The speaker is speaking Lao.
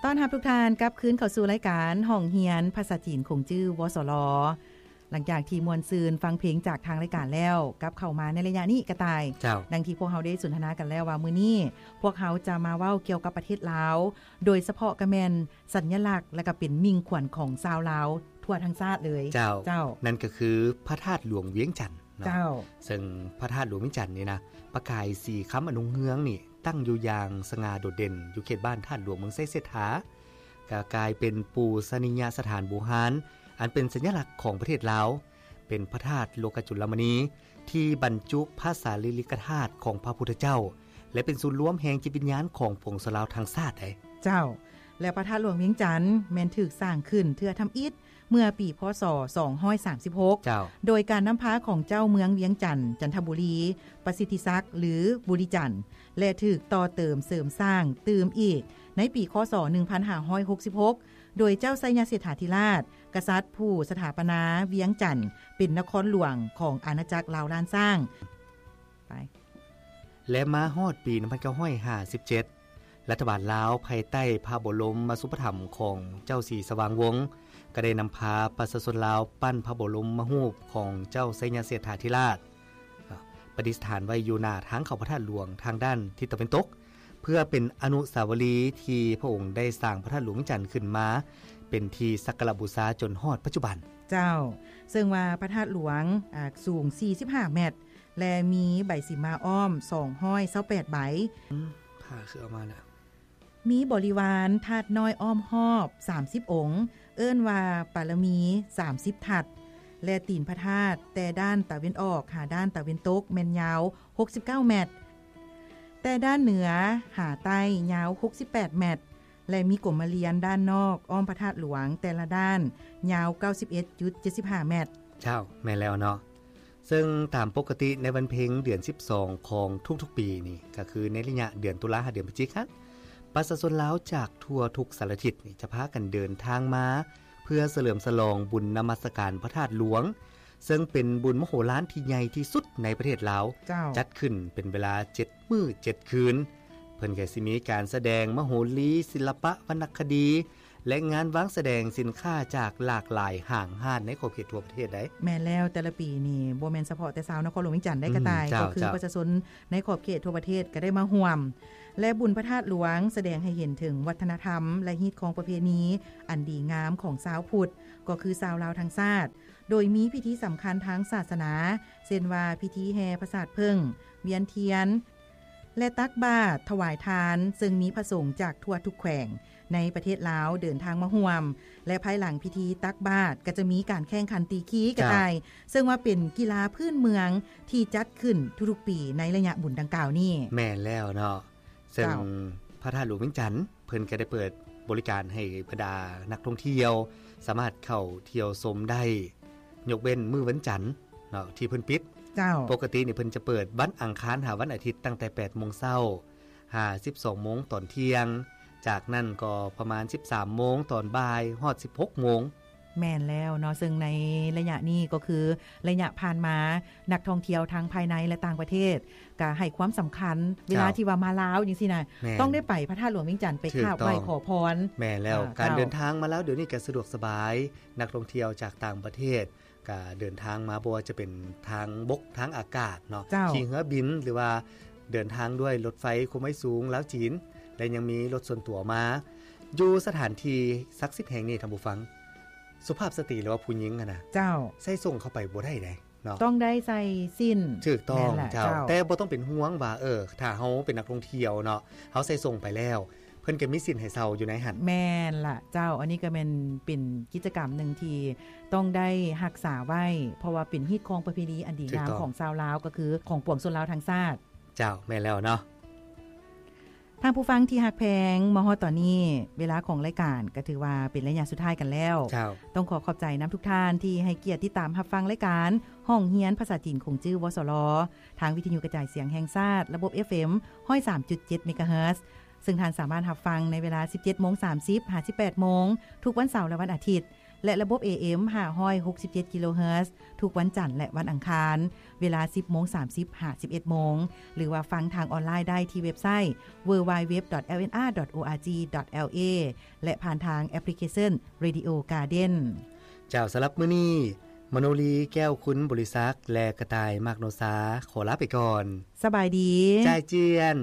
ຕ້ອນຮັບທຸກທ່ານກັບຄືນເຂົ້າສູ່ລາຍການຫ້ອງຮຽນພາສາຈີນຂົງຈື່ ວສລ. ຫຼັງຈາກທີ່ມ່ວນຊື່ນຟັງເພງຈາກທາງລາຍການແລ້ວ, ກັບເຂົ້າມາໃນໄລຍະນີ້ ກະຕ່າຍ, ເຈົ້າ. ດັ່ງທີ່ພວກເຮົາໄດ້ສົນທະນາກັນແລ້ວວ່າ ມື້ນີ້ພວກເຮົາຈະມາເວົ້າກ່ຽວກັບປະເທດລາວ, ໂດຍສະເພາະກະແມ່ນສັນຍະລັກ ແລະ ກະເປັນມິ່ງຂວັນຂອງຊາວລາວທົ່ວທັງຊາດເລີຍ. ເຈົ້າ. ເຈົ້າ. ນັ້ນກະຄືພະທາດຫຼວງວຽງຈັນເນາະ. ເຈົ້າ. ເຊິ່ງພະທາດຫຼວງວຽງຈັນນີ້ນະ ປະກາຍສີຄຳອະນຸງເຮືອງນີ້ ຕັ້ງຢູ່ຢ່າງສະຫງ່າໂດດເດັ່ນ ຢູ່ເຂດບ້ານທາດຫຼວງ ເມືອງໄຊເສດຖາ, ກະກາຍເປັນປູຊະນິຍະສະຖານບູຮານ ອັນເປັນສັນຍະລັກຂອງປະເທດລາວ, ເປັນພະທາດໂລກະຈຸລະມະນີ ທີ່ບັນຈຸພະສາລີລິກະທາດຂອງພະພຸດທະເຈົ້າ ແລະ ເປັນສູນລວມແຫ່ງຈິດວິນຍານຂອງປວງຊົນລາວທັງຊາດໃດ໋. ເຈົ້າ. ແລະ ພະທາດຫຼວງວຽງຈັນແມ່ນຖືກສ້າງຂຶ້ນເທື່ອທຳອິດ ເມື່ອປີ ພ.ສ. ສອງຮ້ອຍສາມສິບຫົກ ເຈົ້າ. ໂດຍການນຳພາຂອງເຈົ້າເມືອງວຽງຈັນ ຈັນທະບູລີ ປະສິດທິສັກ ຫຼື ບູລີຈັນ ແລະ ຖືກຕໍ່ເຕີມເສີມສ້າງຕື່ມອີກໃນປີ ຄ.ສ. ໜຶ່ງພັນຫ້າຮ້ອຍຫົກສິບຫົກ ໂດຍເຈົ້າໄຊຍະເສດຖາທິລາດ ກະສັດຜູ້ສະຖາປະນາວຽງຈັນເປັນນະຄອນຫຼວງຂອງອານາຈັກລາວລ້ານຊ້າງ. ໄປ. ແລະ ມາຮອດປີໜຶ່ງພັນເກົ້າຮ້ອຍຫ້າສິບເຈັດ ລັດຖະບານລາວພາຍໃຕ້ພະບໍລົມມະສຸປະຖຳຂອງເຈົ້າສີສະຫວ່າງວົງ ກໍໄດ້ນຳພາປະຊາຊົນລາວປັ້ນພະບໍລົມມະຮູບຂອງເຈົ້າໄຊຍະເສດຖາທິລາດ ປະດິດສະຖານໄວ້ຢູ່ໜ້າທາງເຂົ້າພະທາດຫຼວງທາງດ້ານທິດຕາເວັນຕົກ ເພື່ອເປັນອະນຸສາວະລີທີ່ພະອົງໄດ້ສ້າງພະທາດຫຼວງວຽງຈັນຂຶ້ນມາເປັນທີ່ສັກກາລະບູຊາຈົນຮອດປັດຈຸບັນ. ເຈົ້າ. ເຊິ່ງວ່າພະທາດຫຼວງ ອາ ສູງສີ່ສິບຫ້າແມັດ ແລະ ມີໃບສີມາອ້ອມສອງຮ້ອຍຊາວແປດໃບ. ອືມ ຜ້າຄືເອົາມານະ. ມີບໍລິວານທາດນ້ອຍອ້ອມຮອບສາມສິບອົງ, ເອີ້ນວ່າປາລະມີສາມສິບທັດ ແລະ ຕີນພະທາດແຕ່ດ້ານຕາເວັນອອກຫາດ້ານຕາເວັນຕົກແມ່ນຍາວຫົກສິບເກົ້າແມັດ, ແຕ່ດ້ານເໜືອຫາໃຕ້ຍາວຫົກສິບແປດແມັດ ແລະ ມີກົມມະລຽນດ້ານນອກອ້ອມພະທາດຫຼວງແຕ່ລະດ້ານຍາວເກົ້າສິບເອັດຈຸດເຈັດສິບຫ້າແມັດ. ເຈົ້າ, ແມ່ນແລ້ວເນາະ. ເຊິ່ງຕາມປົກກະຕິໃນວັນເພັງເດືອນສິບສອງຂອງທຸກໆປີນີ້ ກໍຄືໃນໄລຍະເດືອນຕຸລາຫາເດືອນພະຈິກຫັ້ນ ປະຊາຊົນລາວຈາກທົ່ວທຸກສາລະທິດນີ້ຈະພາກັນເດີນທາງມາ ເພື່ອສະເຫຼີມສະຫຼອງບຸນນະມັດສະການພະທາດຫຼວງ ເຊິ່ງເປັນບຸນມະໂຫລານທີ່ໃຫຍ່ທີ່ສຸດໃນປະເທດລາວ. ເຈົ້າ. ຈັດຂຶ້ນເປັນເວລາເຈັດມື້ເຈັດຄືນ. ເພິ່ນກໍຊິມີການສະແດງມະໂຫຣີ ສິລະປະ ວັນນະຄະດີ ແລະ ງານວາງສະແດງສິນຄ້າຈາກຫຼາກຫຼາຍຫ້າງຮ້ານໃນຂອບເຂດທົ່ວປະເທດໃດ໋. ແມ່ນແລ້ວ, ແຕ່ລະປີນີ້ບໍ່ແມ່ນສະເພາະແຕ່ຊາວນະຄອນຫຼວງວຽງຈັນໄດ໋ ອືມ ກະຕ່າຍ, ເຈົ້າ, ກໍຄື ເຈົ້າ. ປະຊາຊົນໃນຂອບເຂດທົ່ວປະເທດກໍໄດ້ມາຮ່ວມ ແລະ ບຸນພະທາດຫຼວງສະແດງໃຫ້ເຫັນເຖິງວັດທະນະທຳ ແລະ ຮີດຄອງປະເພນີອັນດີງາມຂອງຊາວພຸດ ກໍຄືຊາວລາວທັງຊາດ, ໂດຍມີພິທີສຳຄັນທາງສາສະໜາ ເຊັ່ນວ່າ ພິທີແຫ່ພະສາດເຜິ້ງ, ວຽນທຽນ ແລະ ຕັກບາດຖວາຍທານ, ເຊິ່ງມີພະສົງຈາກທົ່ວທຸກແຂວງໃນປະເທດລາວເດີນທາງມາຮ່ວມ ແລະ ພາຍຫຼັງພິທີຕັກບາດກໍຈະມີການແຂ່ງຂັນຕີຂີ່ກະຕ່າຍ, ເຈົ້າ. ເຊິ່ງວ່າເປັນກິລາພື້ນເມືອງທີ່ຈັດຂຶ້ນທຸກໆປີໃນໄລຍະບຸນດັ່ງກ່າວນີ້. ແມ່ນແລ້ວເນາະ. ເຊິ່ງ ເຈົ້າ. ພະທາດຫຼວງວຽງຈັນ ເພິ່ນກໍໄດ້ເປີດບໍລິການໃຫ້ບັນດານັກທ່ອງທ່ຽວສາມາດເຂົ້າທ່ຽວຊົມໄດ້ ຍົກເວັ້ນມື້ວັນຈັນເນາະ ທີ່ເພິ່ນປິດ. ເຈົ້າ. ປົກກະຕິນີ້ເພິ່ນຈະເປີດວັນອັງຄານຫາວັນອາທິດ ຕັ້ງແຕ່ແປດໂມງເຊົ້າຫາສິບສອງໂມງຕອນທ່ຽງ, ຈາກນັ້ນກໍປະມານສິບສາມໂມງຕອນບ່າຍ ຮອດສິບຫົກໂມງ. ແມ່ນແລ້ວເນາະ, ເຊິ່ງໃນໄລຍະນີ້ກໍຄືໄລຍະຜ່ານມາ ນັກທ່ອງທ່ຽວທັງພາຍໃນ ແລະ ຕ່າງປະເທດ ກະໃຫ້ຄວາມສຳຄັນ ເຈົ້າ. ເວລາທີ່ວ່າມາລາວຈັ່ງຊີ້ນະ ແມ່ນ. ຕ້ອງໄດ້ໄປພະທາດຫຼວງວຽງຈັນ ໄປ ຖືກຕ້ອງ ກາບໄຫວ້ຂໍພອນ. ແມ່ນແລ້ວ. ເຈົ້າ. ການເດີນທາງມາລາວດຽວນີ້ກະສະດວກສະບາຍ, ນັກທ່ອງທ່ຽວຈາກຕ່າງປະເທດກະເດີນທາງມາ ບໍ່ວ່າຈະເປັນທາງບົກ ທາງອາກາດເນາະ, ເຈົ້າ. ຂີ່ເຮືອບິນ ຫຼືວ່າເດີນທາງດ້ວຍລົດໄຟຄວາມໄວສູງລາວຈີນ ແລະ ຍັງມີລົດສ່ວນຕົວມາ. ຢູ່ສະຖານທີ່ສັກສິດແຫ່ງນີ້ ທ່ານຜູ້ຟັງ, ສຸພາບສະຕີ ຫຼືວ່າຜູ້ຍິງຫັ້ນນະ ເຈົ້າ. ໃສ່ສົ້ງເຂົ້າໄປບໍ່ໄດ້ເດ້ເນາະ, ຕ້ອງໄດ້ໃສ່ສິ້ນ. ຖືກຕ້ອງ. ແມ່ນແຫຼະ ເຈົ້າ. ເຈົ້າ. ແຕ່ບໍ່ຕ້ອງເປັນຫ່ວງວ່າ ເອີ ຖ້າເຮົາເປັນນັກທ່ອງທ່ຽວເນາະ, ເຮົາໃສ່ສົ້ງໄປແລ້ວ ເພິ່ນກໍມີສິ້ນໃຫ້ເຊົ່າຢູ່ໃນຫັ້ນ. ແມ່ນລະເຈົ້າ, ອັນນີ້ກໍແມ່ນເປັນກິດຈະກຳໜຶ່ງທີ່ຕ້ອງໄດ້ຮັກສາໄວ້, ເພາະວ່າເປັນຮີດຄອງປະເພນີອັນດີງາມ ຖືກຕ້ອງ ຂອງຊາວລາວ, ກໍຄືຂອງປວງຊົນລາວທັງຊາດ. ເຈົ້າ, ແມ່ນແລ້ວເນາະ. ທ່ານຜູ້ຟັງທີ່ຮັກແພງ, ມາຮອດຕອນນີ້ ເວລາຂອງລາຍການກໍຖືວ່າເປັນໄລຍະສຸດທ້າຍກັນແລ້ວ. ເຈົ້າ. ຕ້ອງຂໍຂອບໃຈນຳທຸກທ່ານທີ່ໃຫ້ກຽດຕິດຕາມຮັບຟັງລາຍການຫ້ອງຮຽນພາສາຈີນຂົງຈື່ ວສລ ທາງວິທະຍຸກະຈາຍສຽງແຫ່ງຊາດ ລະບົບ ເອັຟເອັມ ຮ້ອຍສາມຈຸດເຈັດ ເມກາເຮີດ, ເຊິ່ງທ່ານສາມາດຮັບຟັງໃນເວລາ ສິບເຈັດໂມງສາມສິບ ຫາ ສິບແປດໂມງ ທຸກວັນເສົາ ແລະ ວັນອາທິດ, ແລະລະບົບ ເອເອັມ ຫ້າຮ້ອຍຫົກສິບເຈັດ ກິໂລເຮີດ ທຸກວັນຈັນ ແລະ ວັນອັງຄານ ເວລາ ສິບໂມງສາມສິບ ຫາ ສິບເອັດໂມງ ຫຼືວ່າຟັງທາງອອນລາຍໄດ້ທີ່ເວັບໄຊ www.lnr.org.la ແລະ ຜ່ານທາງແອັບພລິເຄຊັນ Radio Garden. ເຈົ້າ ສຳລັບມື້ນີ້ ມະໂນລີ ແກ້ວຄຸນ ບໍລິສັກ ແລະ ກະຕ່າຍ ມາກໂນຊາ ຂໍລາໄປກ່ອນ. ສະບາຍດີ. ຈາຍເຈືອນ.